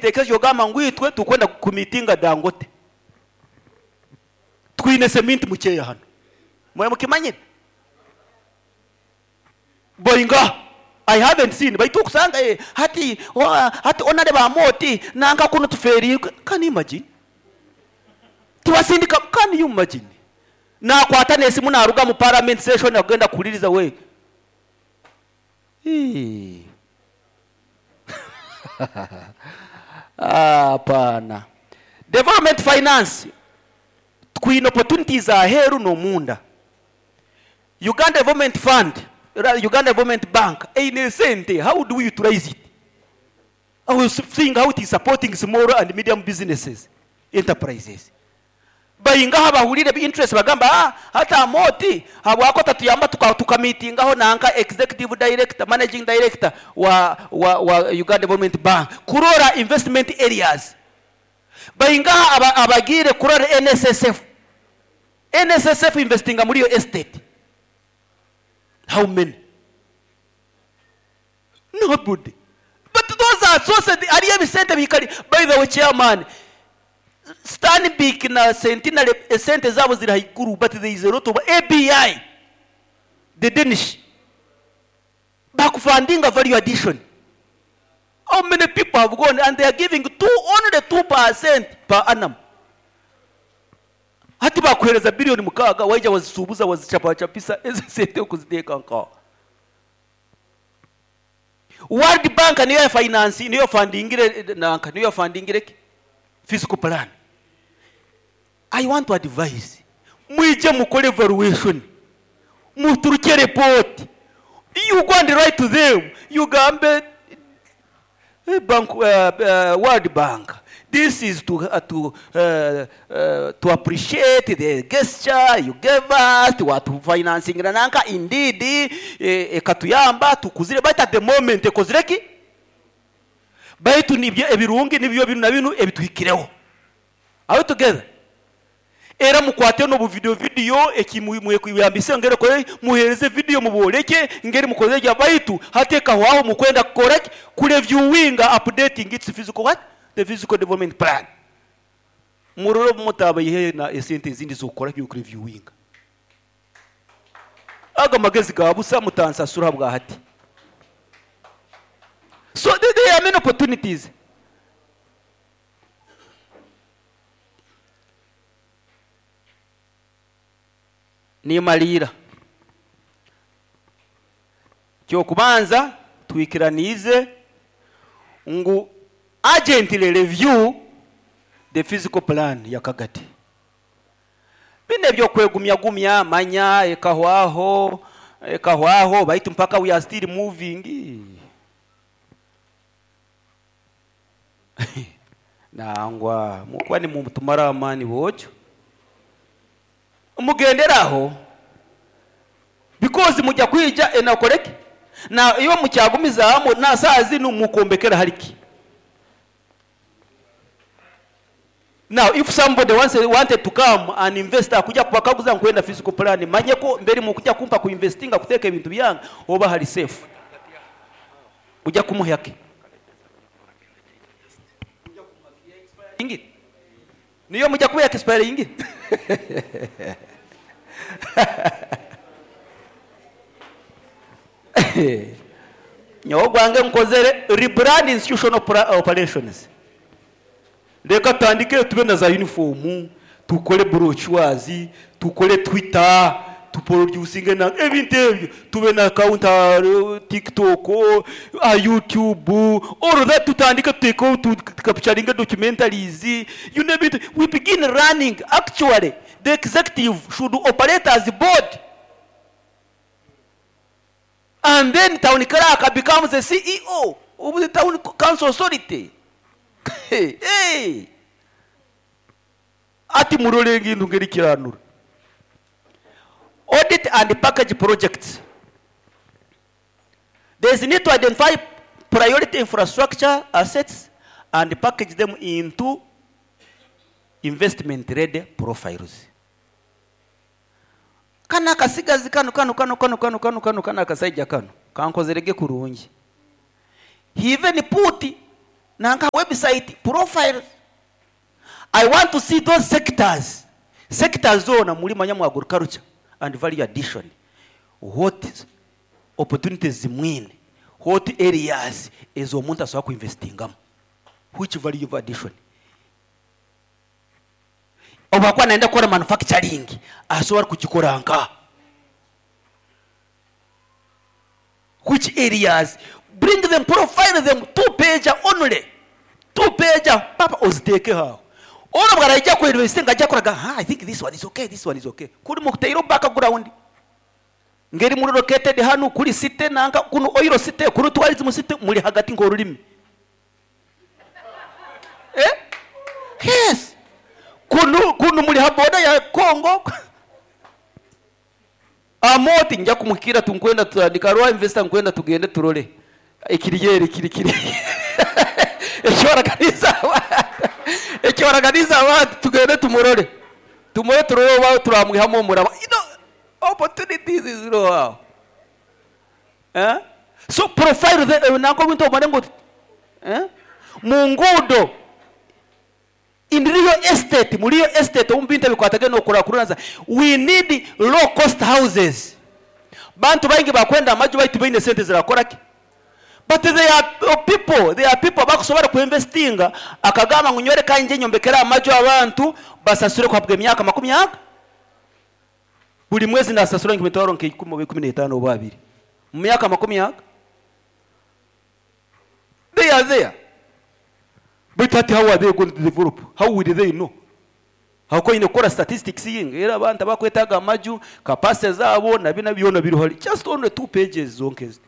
ekitekerezo kyogamba ngu itwe tukwenda kumitinga Dangote. Twine seminti mukyeya hanu. Mwe mukimanyire? Boinga I haven't seen baitu okusanga eh, hati oh, hati onareba Amooti nanka kunu tuferiirwe. Can you imagine? Tibasindika can you imagine? Nakwata n'esimu naruga mu parliament session akugenda kuhuririza we. Hii. Hapana. Development finance twine opportunities aheeru n'omunda. Uganda Development Fund, Uganda Development Bank eine esente, how do we utilize it? I was seeing how it is supporting small and medium businesses, enterprises. Baingaha abahurire interest bagamba ah, hati Amooti habwaki otatuyamba tuka tukamitingaho nanka executive director, managing director wa, wa, wa Uganda Development Bank kurora investment areas. Baingaha aba, abagiire kurora NSSF. NSSF investinga muri yo estate. How many? Nobody. But those are sources, hariyo ebisente bikari. By the way, chairman, Stanbic na Centenary esente zaabo ziri haiguru, but there is a lot of ABI, the Danish, bakufundinga value addition. How many people have gone and they are giving two, only 2% per annum. Hati bakuhereza billion mukaaga waija wazisuubuza wazichapachapisa ezo sente okuziteeka nkaho. World Bank niyo ya finance niyo fundingire nanka niyo fundingire ki physical plan. I want to advise mwije mukore evaluation muturuke report you go and write to them you gambe bank World Bank this is to uh, to uh, uh, to appreciate the gesture you gave us to watufinancingira nanka indeed ekatuyamba tukuzire but at the moment ekozire ki baitu nibyo ebirungi nibyo binu na binu ebituhikireho. Are we together? Era mukwate n'obu video video eki mwekuyambisa ngeri ekore muhereze video muboreke ngeri mukoze gya baitu hati ekahwaho mukwenda kukora ki kureviewinga updating its physical what the physical development plan murore obu mutaabaihe na esente ezindi z'okukora ki kureviewinga ago amagezi ga busa mutansasura habwa hati so there are many opportunities. Nimariira. Ky'okubanza twikiraniize ngu urgently review the physical plan ya Kagadi. Binu eby'okwegumyagumya manya ekahwaho, ekahwaho baitu mpaka we are still moving. Nangwa mukuba nimutumara amaani boojo. Mugendere aho because mujya kwija enakoreki na iwe mukyagumizaamu na saaha zinu mukombekera hari ki? Now if somebody wants, wanted to come and invest akujya kubakaguza nkwenda physical plan manye ko mbere mukujya kumpa ku investinga kuteka ebintu byange oba hari safe ujya kumuha ki? Niyo mujya kuba expiring. Nyowe gwange nkozere rebrand institutional operations. Reka tutandike tube na za uniform, tukore brochures, tukore Twitter, tuproducinge na ebintu ebyo, tube na account TikTok, a YouTube, all that tutandike tuteko capturing documentaries, you name it, we begin running. Actually, the executive should operate as a board. And then town clerk becomes the CEO of the town council authority. Hey, hey. Ati murore ngintu ngeri kiranura. Audit and package projects. There is need to identify priority infrastructure assets and package them into investment ready profiles. Kano akasigazi kano kano kano kano kano kano kano kano akasaija kano kankozerege kurungi. He even put Nanka website profiles. I want to see those sectors. Sectors zoona muri manya mu agriculture and value addition. What opportunities zimwine? What areas ezi omuntu asobola kuinvestingamu? Which value of addition? Obu akuba nayenda kukora manufacturing, asobola kugikora nkaha? Which areas? Bring them, profile them, two page only. Two page, papa oziteekeho aho. Onu obu araija kuinvestinga aija kuraga, ah, I think this one is okay, this one is okay. Kuri mukutaire background. Ngeri muri located hanu kuri city nanka kunu oil city kuri tourism city muri hagati nk'orurimi. Eh? Yes. Kunu kunu muri ha border ya Congo. Amooti nja kumuhikirra tunkwenda tutandika hariho investor nkwenda tugende turole ekiri eri kiri kiri ekyoraganiza abantu ekyoraganiza abantu tugende tumurole tumurole turole oba turamwihamu omuraba you know, opportunities ziriho aho eh? So profile the, eh, nanka obintu omare ngu eh? Mu nguudo In real estate, mu real estate omu bintu ebikwatagaine n'okukurakuraniza, we need low cost houses. Bantu baingi bakwenda amaju baitu tibaine sente zirakora ki? But there are people, there are people abakusobora ku investinga akagamba ngu nyowe reka ngye nyombekere amaju abantu basasure kuhabwa emyaka makumi aga. Buri mwezi nasasura nk'emitwaro nk'eikumi oba 15 oba abiri mu myaka makumi aga. They are there. Baitu hati how are they going to develop? How will they know? Ahabw'okuba oine kukora statistics ngu era abantu abakwetaaga amaju, capacity zaabo na bina byona biriho hari. Just only two pages zonka ezi.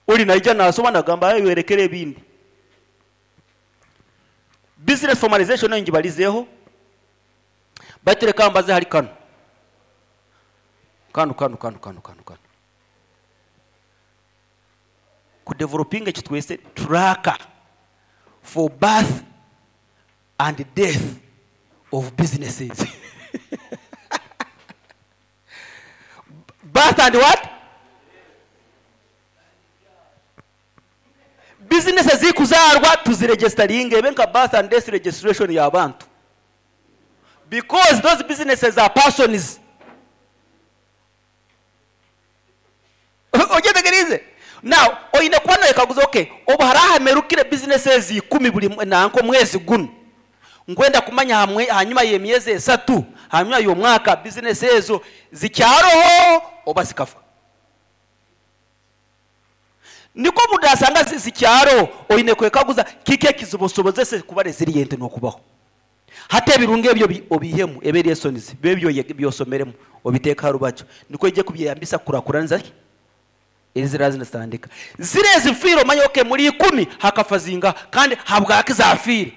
Ori naija naasoma nagamba aye yorekere ebindi. Business formalization nayo ngibarizeeho. Baitu reka mbaze hari kanu. Kanu, kanu, kanu, kanu, kanu, kanu. Ku developinga eki twese tracker for birth and death of businesses. Birth and what? Bizinesi ezikuzaarwa tuziregestaringe ebe nka birth and death registration y'abantu because those businesses are persons. Ogyetegyereize? Now, oine kuba noyekaguza, okay, obu harahamerukire bizinesi ezi ikumi buri nanka omwezi gunu, nkwenda kumanya hamwe hanyima y'emyezi esatu, hanyima y'omwaka, bizinesi ezo zikyaroho oba zikafa? Nikwo obu orasanga zikyaroho, oine kwekaguza kiki ekizibosobozese kuba resilient n'okubaho. Hati ebirungi ebyo obiihemu, ebe lessons, bibe ebi osomeremu, obiteeke aha rubaju, nikwo oije kubyeyambisa kukurakuraniza ki? Eziraabe nizitandika. Ziri ezifiire omanye okay muri ikumi hakafa zingaha kandi habwaki zaafiire?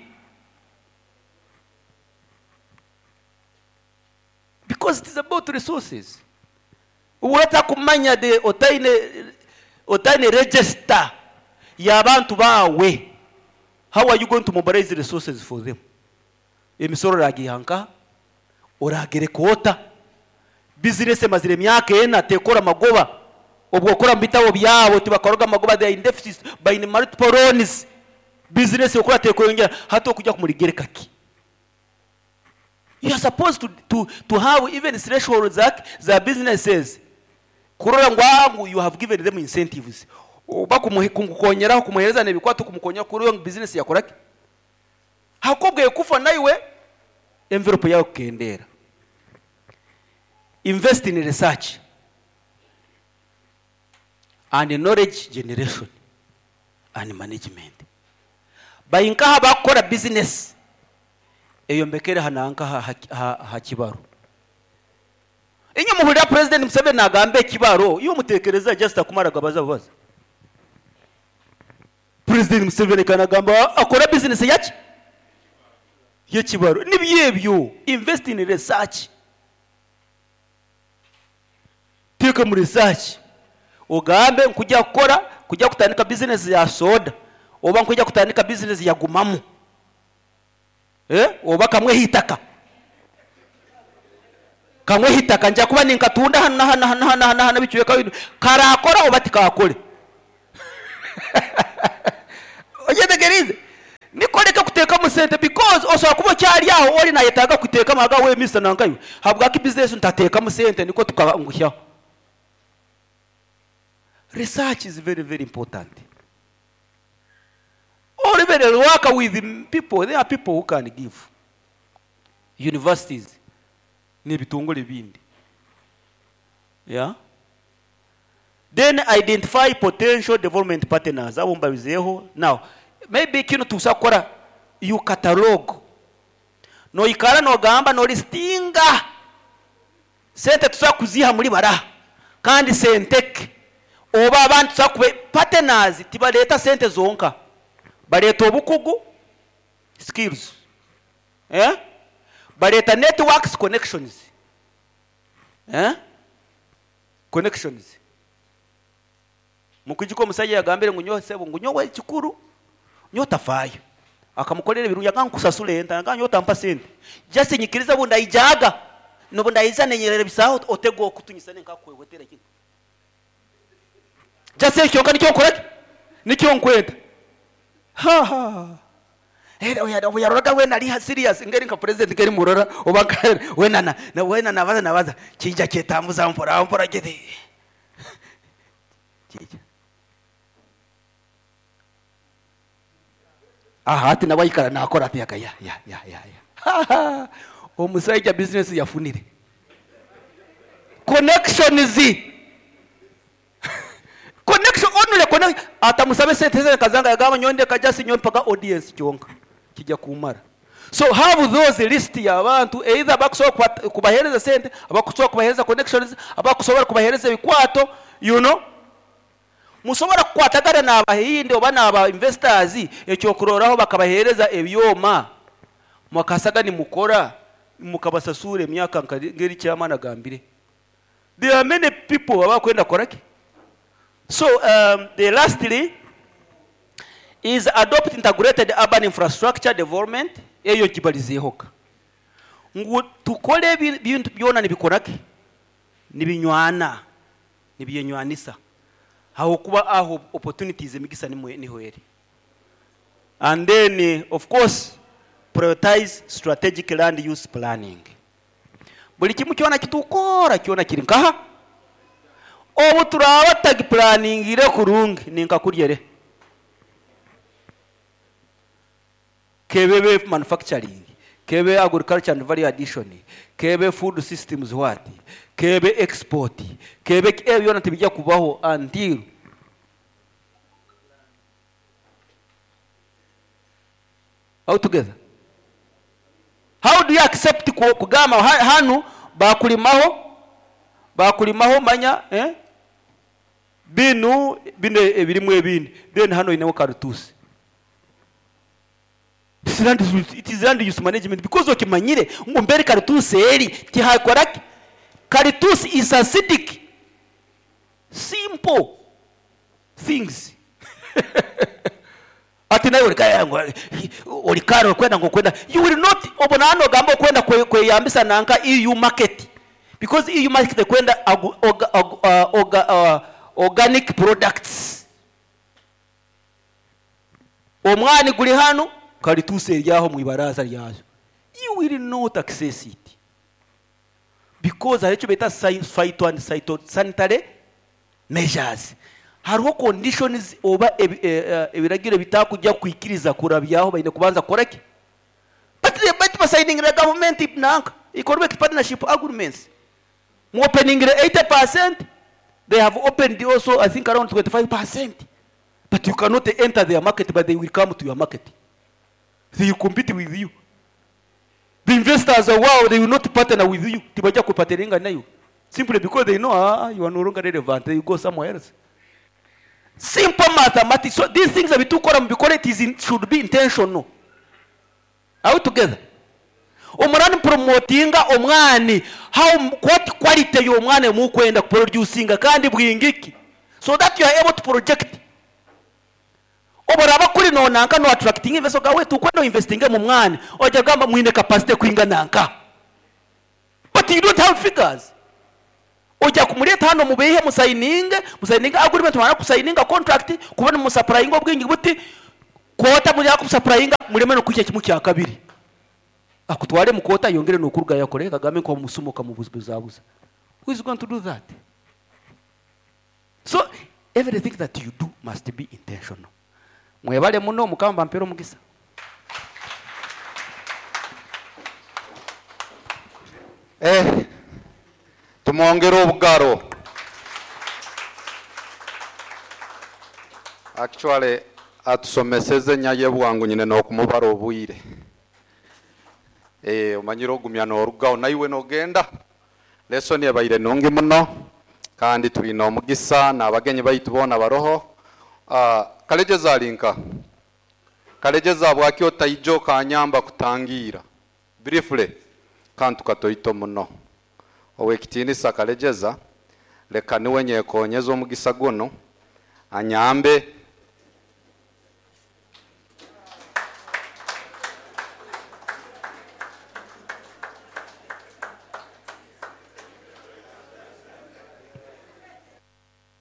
Because it is about resources. Waaba otakumanya the otaine otaine register y'abantu baawe, how are you going to mobilize resources for them? Emisoro oragiiha nkaha? Oragereka ota? Bizinesi emazire emyaka ena tekora magoba. Obwo okora omu bitabo byabo tibakoroga amagoba, they are in deficit, baine multiple loans. Bizinesi okora tekweyongyera, hati okujya kumurigereka ki? You are supposed to, to, to have even thresholds za, za businesses kurora ngu aha ngu you have given them incentives oba kumukonyeraho kumuhereza n'ebikwato kumukonyera kurora ngu business yakora ki ahakuba obwo ekufa naiwe envelope yawe kukendeera. Invest in research and knowledge generation and management. Bari nkaha abakukora business eyombekere aha nanka aha kibaro. Inywe muhurira President Museveni nagamba ekibaro, iwe mutekereza just akumara gabaza bubaza. President Museveni ka nagamba akora business yaki? Y'ekibaro. Nibyo ebyo, invest in research. Teeka omu research ogambe nkujya kukora, kujya kutandika business ya soda oba nkujya kutandika business ya gumamu. Eh, oba kamwe aha itaka. Kamwe aha itaka nja kuba ninkatunda hanu na hanu na hanu na hanu ebicweka binu. Karaakora oba tikaakore? Okyetegeriize? Nikwo oreke kuteekamu sente because osobola kuba okyari aho ori nayetaaga kuteekamu aga we Mister nanka iwe habwaki business ntateekamu sente nikwo tukanguhyaho. Research is very very important. Or even work with people, there are people who can give. Universities n'ebitongore ebindi. Yeah. Then identify potential development partners abo mbabizeeho. Now, maybe kinu tukusobola kukora you catalogue. Noikara nogamba nolistinga sente tusobola kuziiha muri baraha kandi sente ki oba abandi tusobola kube partners tibareeta sente zonka bareeta obukugu skills eh? Bareeta networks connections eh? Connections. Mukwijuka omusaija yagambire ngu nyowe sebo ngu nyowe ekikuru nyowe otafaayo. Akamukorera ebirungi yagamba ngu nkusasure enta yagamba nyowe otampa sente just nyikiriza obu ndaijaga nobu ndaija ninyerabisaaho otege okutu nyisane nkakwehwetera kimwe. Just ekyo kyonka nikyo nkoraki? Nikyo nkwenda. Ha ha. Obu yaroraga weena ari serious ngeri nka president ngeri murora oba nka weena na na weena nabaza nabaza kija kyetambuza mpora mpora kiti kija aha hati nawe aikara nakora ati yaka ya ya ya ya ya omusaija business yafunire connections Connection only connection atamusabe sente ze kazanga yagamba nyowe ndeka just nyowe mpaka audience kyonka kijja kumara. So have those list y'abantu either abakusobola kubahereza sente, abakusobola kubahereza connections, abakusobola kubahereza ebikwato you know. Musobola kukwatagana n'abahindi oba n'aba investors ekyokurorraho bakabahereza ebyoma mwakasaga nimukora mukabasasura emyaka nka ngeri chairman agambire. There are many people abakwenda kukora ki? So um, the lastly is adopt integrated urban infrastructure development eyo nkibalizeehoka ngu tukore ebintu byona nibikora ki? Nibinywana, nibyenywanisa ahabw'okuba aho opportunities emigisa nimwo niho eri. And then of course prioritize strategic land use planning. Buri kimwe kyona eki turikukora kyona kiri nkaha? Obu turaaba tutagipuraningiire kurungi ni nka kurya ere. K'ebe manufacturing, k'ebe agriculture and value addition, k'ebe food systems what, k'ebe export, k'ebe ki, ebyo byona tibijya kubaho until Are we together? How do you accept kugamba hanu bakurimaho bakurimaho manya eh? Binu binu ebirimu ebindi then hanu oineho karutusi. This land is, it is land use management because okimanyire ngu mberi karutusi eri tihakora ki? Karutusi is acidic. Simple things. Ati naiwe ori kare orikwenda ngu okwenda you will not obwo naba nogamba okwenda kweyambisa nanka EU market because EU market ekwenda organic products. Omwani guri hanu karitusi eri aho omu ibaraza ryazo. You will not access it because hariho eki beeta phyto and phytosanitary measures. Hariho conditions oba ebiragiro ebitakuja kukwikiriza kurabyaho baine kubanza kukora ki? But baitu basayiningire gavumenti nanka economic partnership agreements. Mu openingire 80%, they have opened also I think around 25%. But you cannot enter their market but they will come to your market. They will compete with you. The investors are wow, they will not partner with you. Tibaja kupartneringa nayo. Simply because they know ah, you are no longer relevant, they go somewhere else. Simple mathematics. So these things abitukora mubikore it is in, should be intentional. Are we together? Omurani promotinga omwani how what quality y'omwani mukwenda kuproducinga kandi bwingiki so that you are able to project Obu oraaba kuri noonanka no attractinga investor ogamba wait tukwenda oinvestinge omu mwani oija kugamba mwine capacity ekwingana nka but you don't have figures. Oija kumureeta hanu omubeihe musayininge, musayininge agreement mwamara kusayininga contract kuba nimusupplyinga obwingi buti. Koota muri akusapurayinga mureme n'okuhikya kimwe kya kabiri. Akutware mu koota ayongere n'okurugayo akore agambe nka omusuma okamubuzabuza. Who is going to do that? So everything that you do must be intentional. Mwebale muno Mukama abampere omugisa. Eh, tumwongere obugaro. Actually atusomeseze nyaye bwangu nyine nokumubara obwire. Eh, omanyire ogumya norugaho naiwe nogenda. Lesson ebaire nungi muno kandi twine omugisa n'abagenyi baitu boona baroho. Kalegeza alinka. Kalegeza bwaki otaija okanyamba kutangira. Briefly kantu katoito muno. Owekitiinisa Kalegeza leka niwe nyekonyeza omugisa guno anyambe.